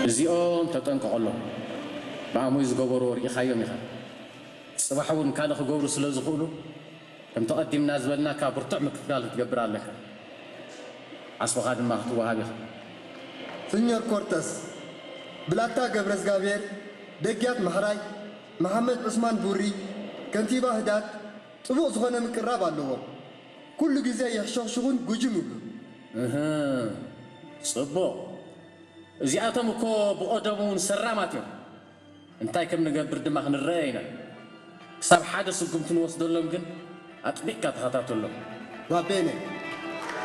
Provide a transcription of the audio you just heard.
እዚኦም ተጠንቀቐሎም። ብኣሙይ ዝገበርዎ ርኢኻዮም ኢኻ። ጽባሕ እውን ካልእ ክገብሩ ስለ ዝኽእሉ፣ ከምቲ ቀዲምና ዝበልናካ ብርቱዕ ምክትታል ክትገብር ኣለካ። ዓስብኻ ድማ ክትወሃብ ኢኻ። ስኞር ኮርተስ፣ ብላታ ገብረዝጋብሔር፣ ደግያት ማሕራይ፣ መሓመድ ዑስማን ቡሪ፣ ከንቲባ ህዳት፣ ጽቡቕ ዝኾነ ምቅራብ ኣለዎም። ኩሉ ግዜ የሕሸኽሽኹን ጉጅም ይብሉ። እህ፣ ጽቡቕ። እዚኣቶም እኮ ብቐደሙ እውን ሰራማት እዮም። እንታይ ከም ንገብር ድማ ክንረአ ኢና። ክሳብ ሓደ ስጉምቲ ንወስደሎም ግን ኣጥቢቕካ ተኸታተሎም። ባቤነ፣